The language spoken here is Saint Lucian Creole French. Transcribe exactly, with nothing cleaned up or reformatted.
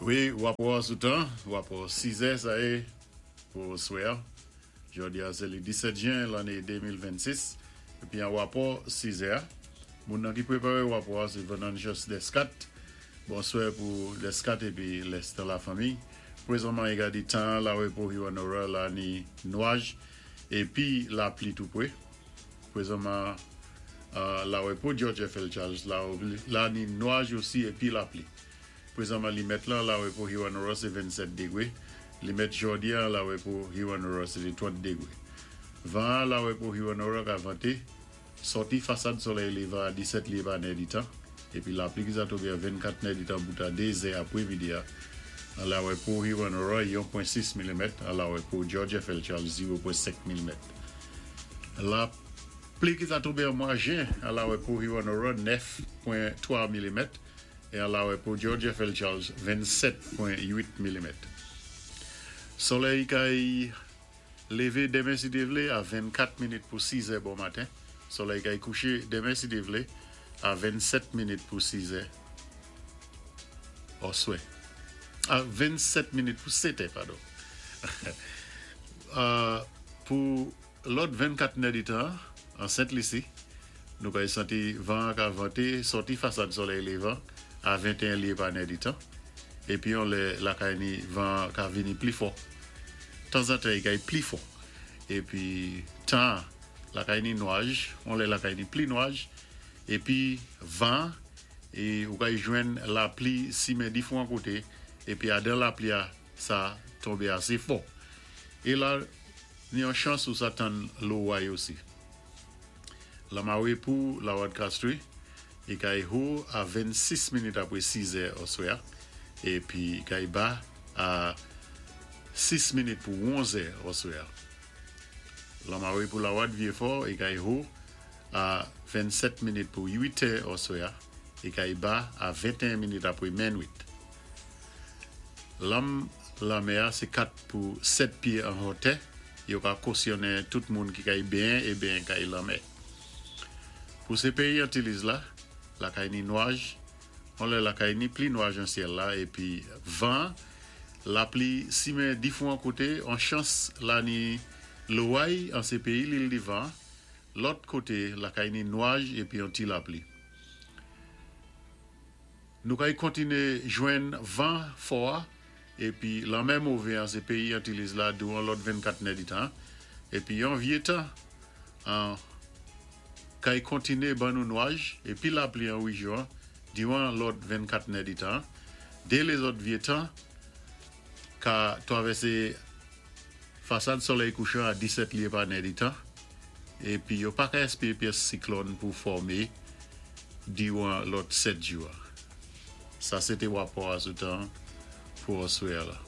Wi, wapò sou tan, wapò sis è sa yé pou oswè. Jòdi-a sé li disèt jen lanné de mil vennsis. Épi an wapò sis è, moun nan ki pwéparé wapò sé Venantius Descat. Bonswè pou Descat épi lès la fanmi. Pwézanman, i ka di tan la pou Hewanorra la ni nwaj épi lapli tou pwé. Pwézanman euh, la pou George F. L. Charles la, la ni nwaj osi épi lapli. Pwézanman limèt la la pou Hewanorra sé vennsèt dégwé. Limèt jòdi-a la pou Hewanorra sé trant dégwé. Van la pou Hewanorra ka vanté sòti fasad solèy lévan a disèt lyé pa nèditan épi lapli ki sa tonbé a vennkat nèditan bout a de zè apwé midi an la pou Hewanorra yon pwen sis milimèt, an la pou George F. L. Charles zewo pwen senk milimèt. Lapli ki sa tonbé an mwa jen an la pou Hewanorra nèf pwen twa milimèt é an la pou George F. L. Charles vennsèt pwen uit milimèt. Solèy kay lévé denmen si Dye vlé a vennkat minit pou sis è bon maten. Solèy kay kouché denmen si Dye vlé a vennsèt minit pou sis è. Oswè. A vennsèt minit pou sèt è, padon. Euh, pou lòt vennkat nèditan an Sent Lisi, nou kay santi van ka vanté sòti fasad solèy lévan a venteyen lyé pa nèditan. Épi on lè lakay ni van ka vini pli fò. Tanzantan i kay pli fò. Épi tan lakay ni nwaj, on lè lakay ni pli nwaj épi van é ou kay jwenn lapli simen difwan koté épi adan lapli a sa tonbé asé fò. É la ni yon chans ou sa tann loway osi. Lanmawé pou Lawad Castries, i kay wo a vennsis minit apwé sis è oswè épi kay ba a sis minit pou onz è oswè. Lanmawé pou Lawad Vyéfò, i kay wo a vennsèt minit pou uit è oswè é kay ba a venteyen minit apwé minwit. Lanm lanmè sé kat pou sèt pyé an wotè, yo ka kosyonnen tout moun ki kay benyen é benyen kay lanmè. Pou sé péyi Antiliz la, lakay ni nwaj, on lè lakay ni pli nwaj an syèl la épi van, lapli simen difwan koté, an chans la ni loway an sé péyi Lil Divan, lòt koté lakay ni nwaj épi yon ti lapli. Nou kay kontiné jwenn van fò épi lanmè mové an sé péyi Antiliz la diwan lòt vennkat nèditan épi yon vyé tan an kay kontiné ban nou nwaj épi lapli an wéjyon diwan lòt vennkat nèditan. Dé lézòt vyé tan ka twavèsé fasad solèy kouchan a disèt lyé pa nèditan épi yo pa ka èspéré pyès siklòn pou fòmé diwan lòt sèt jou. Sa sé té wapò a sou tan pou oswè la.